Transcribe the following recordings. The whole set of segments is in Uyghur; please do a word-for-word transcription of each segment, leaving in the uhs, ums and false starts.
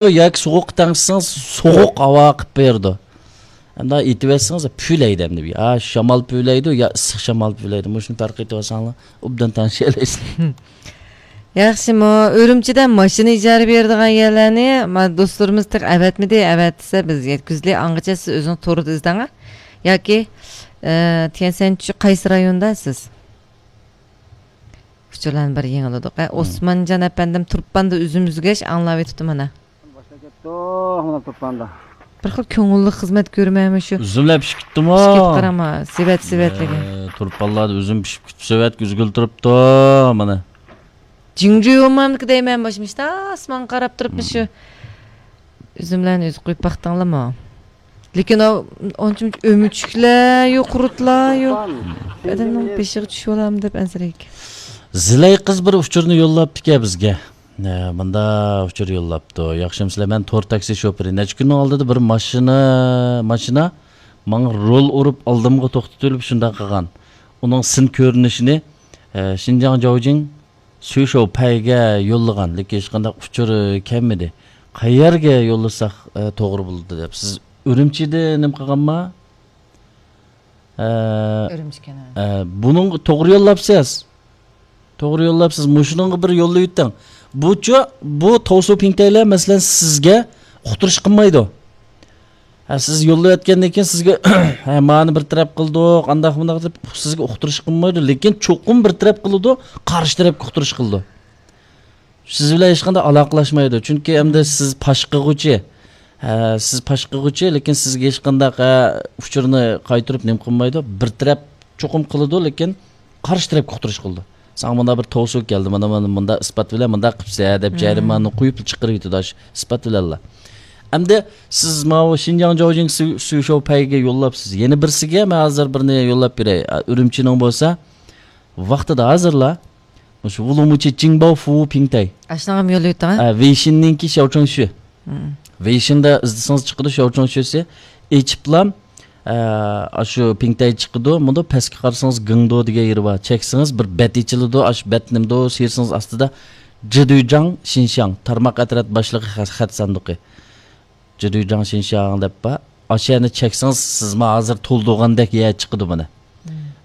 ياكى سوغۇققا تەڭشىسىڭىز سوغۇق ھاۋا قىلىپ بېرىدۇ. ئەمدى ئېيتىۋەتسىڭىز پۈۋلەيدۇ ئەمدى. ھا، شامال پۈۋلەيدۇ يا ئىسسىق شامال پۈۋلەيدۇ. مۇشۇنى پەرق ئېتىۋالساڭلار ئوبدان تەڭشىيەلەيسىلەر. ياخشىمۇ، ئۈرۈمچىدە ماشىنا ئىجارە بېرىدىغان يەرلەرنى ما دوستلىرىمىز تېخى ئەۋەتمىدى، ئەۋەتسە بىز يەتكۈزلى. ئاڭغىچە سىز ئۆزىڭىز توردا ئىزدەڭ، ياكى، ئە، تيەنسەنچۈ قايسى رايوندا سىز؟ ئۇچۇرلارنى بىر يېڭىلىدۇق. ئە، ئوسمانجان ئەپەندىم تۇرپاندا ئۈزۈم ئۈزگەچ ئاڭلاۋېتىپتۇ مانا. باشلاپ كەتتۇق مانا تۇرپاندا. بىر خىل كۆڭۈللۈك خىزمەت كۆرمەيمۇ شۇ. ئۈزۈملەر پىشىپ كېتىپتۇما؟ پىشىپ كېتىپ قاراما، سېۋەت سېۋەتلىكى. ئە، تۇرپانلاردا ئۈزۈم پىشىپ كېتىپ سېۋەت ئۈزگىلى تۇرۇپتۇ مانا. جىڭجۇيۇمامدىكى دەيمەن، باشىم ئىشتا ئاسمانغا قاراپ تۇرۇپ شۇ ئۈزۈملەرنى ئۈزۈپ قويۇپ باقتىڭلارمۇ؟ لېكىن ئۇ ئانچە ئۆمۈچۈكلەر يوق، قۇرتلار يوق. ئادەمنىڭ بېشىغا چۈشۈۋالامدۇ دەپ ئەنسىرەيدىكەن. زىلەي قىز بىر ئۇچۇرنى يوللاپتىكەن بىزگە. نە، مۇندا ئۇچۇر يوللاپتۇ. ياخشىمۇسىلەر، مەن تور تاكسى شوپۇرى. نەچچە كۈننىڭ ئالدىدا بىر ماشىنا، ماشىنا ماڭا رول ئۇرۇپ ئالدىمغا توختىتىۋېلىپ شۇنداق قىلغان. ئۇنىڭ سىن كۆرۈنۈشىنى، ئە، شىنجاڭ جاۋجىڭ سۈيشوۋ پەيگە يوللىغان، لېكىن ھېچقانداق ئۇچۇر كەلمىدى. قەيەرگە يوللىساق، ئە، توغرا بولىدۇ دەپ. سىز ئۈرۈمچىدە نېمە قىلغانما؟ ئە، ئۈرۈمچىكەن، ھە. ئە، بۇنىڭغا توغرا يوللاپسىز. توغرا يوللاپسىز. مۇشۇنىڭغا بىر يوللاۋېتىڭ. بۇچۇ، بۇ توسۇ پىڭتەيلەر، مەسىلەن، سىزگە ئۇقتۇرۇش قىلمايدۇ. ھە، سىز يوللىۋەتكەندىن كېيىن سىزگە، ھە، مانى بىر تەرەپ قىلدۇق، ئانداق مۇنداق دەپ سىزگە ئۇقتۇرۇش قىلمايدۇ، لېكىن چوقۇم بىر تەرەپ قىلىدۇ، قارشى تەرەپكە ئۇقتۇرۇش قىلىدۇ. سىز بىلەن ھېچقانداق ئالاقىلاشمايدۇ، چۈنكى ئەمدى سىز پاش قىلغۇچى. ھە، سىز پاش قىلغۇچى، لېكىن سىزگە ھېچقانداق، ھە، ئۇچۇرنى قايتۇرۇپ نېمە قىلمايدۇ، بىر تەرەپ چوقۇم قىلىدۇ، لېكىن قارشى تەرەپكە ئۇقتۇرۇش قىلىدۇ. ساڭا مۇنداق بىر توسۇ كەلدى، مانا، مانا مۇنداق ئىسپات بىلەن مۇنداق قىپسەن دەپ جەرىمانىنى قويۇپ چىقىرىۋېتىدۇ ئاشۇ ئىسپات بىلەنلا. ئەمدى سىز ماۋۇ شىنجاڭ جاۋجىڭ سۈ-، سۈشوۋ پەيگە يوللاپسىز. يەنە بىرسىگە مەن ھازىر بىرنى يوللاپ بېرەي. ئا، ئۈرۈمچىنىڭ بولسا ۋاقتىدا ھازىرلا مۇشۇ ۋۇلۇمۇچى جىڭباۋ فۇ پىڭتەي. ئاشۇنىڭغىمۇ يوللاپ ئۆتۈڭ، ھە؟ ئە، ۋېيشىننىڭكى شياۋچۇڭشۈ. ھىم. ۋېيشىندا ئىزدىسىڭىز چىقىدۇ شياۋچۇڭشۈسى. ئېچىپلام، ئە، ئاشۇ پىڭتەي چىقىدۇ. مۇنداق پەسكە قارىسىڭىز گېڭدو دېگەن يېرى بار. چەكسىڭىز بىر بەت ئېچىلىدۇ. ئاشۇ بەت نېمىدۇ؟ سىيرسىڭىز ئاستىدا جىدۈيجاڭ شىنشاڭ تارماق ئەترەت باشلىقى خەت، خەت ساندۇقى. جىدۇيجاڭ شىنشاڭ دەپ بار. ئاشۇ يەرنى چەكسىڭىز، سىزمۇ ھازىر تولدۇرغاندەك يەر چىقىدۇ مانا.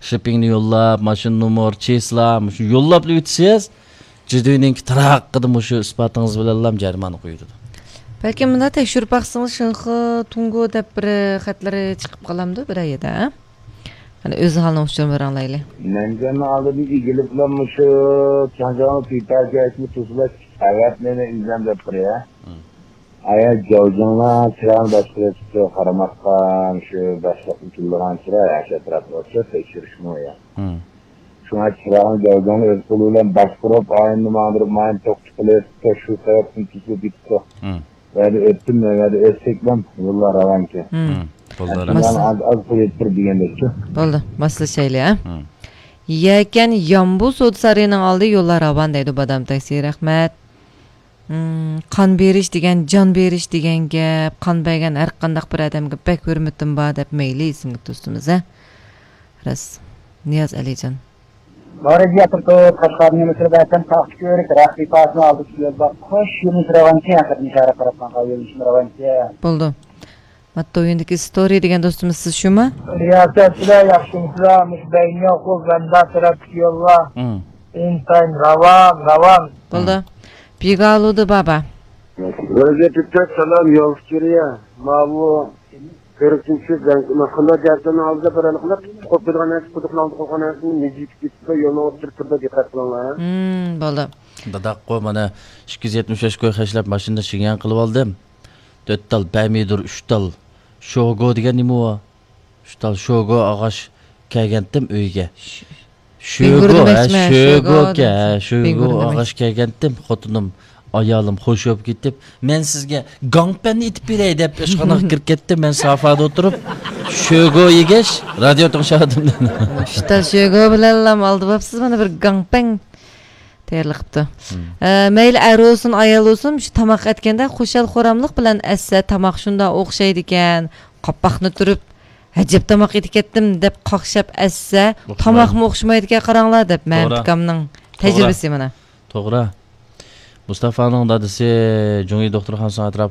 شىپپىڭنى يوللاپ، ماشىنا نومۇر، چىسلا، مۇشۇ يوللاپلا ئۆتسىز، جىدۇينىڭكى تىراققىدا مۇشۇ ئىسپاتىڭىز بىلەنلا جەرىمانە قويۇلىدۇ. بەلكىم مۇنداق تەكشۈرۈپ باقسىڭىز، شىنخې تۇڭگو دەپ بىر خەتلىرى چىقىپ قالامدۇ بىرەر يەردە، ھە؟ قېنى ئۆز ھالىنىڭ ئۇچۇرىنى بىر ئاڭلايلى. مەنجاننىڭ ئالدىدىن ئېگىلىپلا مۇشۇ چاڭجاڭنىڭ پىپەگەسمۇ تۇزلاش ئەۋەتمەيمەن ئۆزۈم دەپ تۇرۇۋە. ئايا جاۋجىڭلار چىراغنى باشقۇرۇۋېتىپتۇ، قارىماققا شۇ باشلىقنى تىللىغان چىراغ، ئاشۇ ئەتراپتا ئوخشاش تەكشۈرۈشمۇ يا. شۇڭا چىراغنى جاۋجىڭلار ئۆز قولى بىلەن باشقۇرۇپ، ئاينىنى ماڭدۇرۇپ، ماينى توختىتىپ قېلىۋېتىپتۇ، شۇ سەۋەبتىن كېسىلىپ كېتىپتۇ. مەن ئۆتتۈم، مەن ئۆتسەكلا يوللار راۋانكەن. بولدى، رەھمەت. ئاز، ئاز قويۇپ بىر دېگەندەكچۇ. بولدى، ماسلىشايلى، ھە؟ يەكەن يامبۇ سودا سارىيىنىڭ ئالدى يوللار راۋان دەيدۇ، بادام تاكسى، رەھمەت. مم، قان بېرىش دېگەن، جان بېرىش دېگەن گەپ. قان بەرگەن ھەر قانداق بىر ئادەمگە بەك ھۆرمىتىم بار دەپ مەيلى ئىسىملىك دوستىمىز، ھە؟ راست. نىياز ئەلىجان. مارىجى ئەتىركوت، قەشقەرنىڭ مىسىردا ئەتەم تاختىكۆۋرۈك، رەخت ئىپاسىنىڭ ئالدىدا يول بار. خوش يولنى راۋانكى، ھەقىقەتنى ئىشارە قىلىپمەن، يولنى راۋانكى. بولدى. ماتويىندىكى ستورى دېگەن دوستىمىز سىز شۇمۇ؟ رىياسەتچىلەر ياخشىمۇسىلەر؟ مۇشۇ بەينىياقۇ بەندار تەرەپتىكى يوللار ئىنتايىن راۋان، راۋان. بولدى. بىگالۇدى بابا. ۋەزىيەت تۈپتەك سالام، يول سۈرۈيە. ماۋۇ كۆرۈكتىن چۈشۈپ، قانداق جەھەتلەرنىڭ ئالدىدا بىر قىلىپ، قويۇپ قويغان نەرسە، قۇدۇقنىڭ ئالدىغا قويغان نەرسىنى مىجىپ كېتىپلا يولنىڭ ئوتتۇرىسىدا دىققەت قىلىڭلار. ھىم، بولدى. داداققۇ، مانا ئىككى يۈز يەتمىش بەش كوي خەجلەپ ماشىنىدا شىنياڭ قىلىۋالدىم. تۆت تال پەمىدۇر، ئۈچ تال شوگو دېگەن نېمە ئۇ؟ ئۈچ تال شوگو ئاغاچ كەلگەنتىم ئۆيگە. شۆگو، ھە، شۆگو، شۆگو ئاغاچ كەلگەنتىم، خوتۇنۇم، ئايالىم خوش بولۇپ كېتىپ، مەن سىزگە گاڭپەننى ئېتىپ بېرەي دەپ ئىشخانىغا كىرىپ كەتتىم. مەن سافادا ئولتۇرۇپ شۆگو يېگەچ رادىيو تىڭشاۋاتىمەن. ئۈچ تال شۆگو بىلەنلا ئالدىۋاپسىز مانا بىر گاڭپەن. تەييارلىق قىپتۇ. ئە، مەيلى ئەر بولسۇن، ئايال بولسۇن، شۇ تاماق ئەتكەندە خۇشال-خۇراملىق بىلەن ئەتسە، تاماق شۇنداق ئوخشايدىكەن. قاپاقنى تۈرۈپ، ئەجەب تاماق ئېتىپ كەتتىم دەپ قاقشاپ ئەتسە، تاماقمۇ ئوخشىمايدىكەن، قاراڭلار دەپ مەمتىكامنىڭ تەجرىبىسى مانا. توغرا. مۇستافانىڭ دادىسى جۇڭيى دوختۇرخانىسىنىڭ ئەتراپ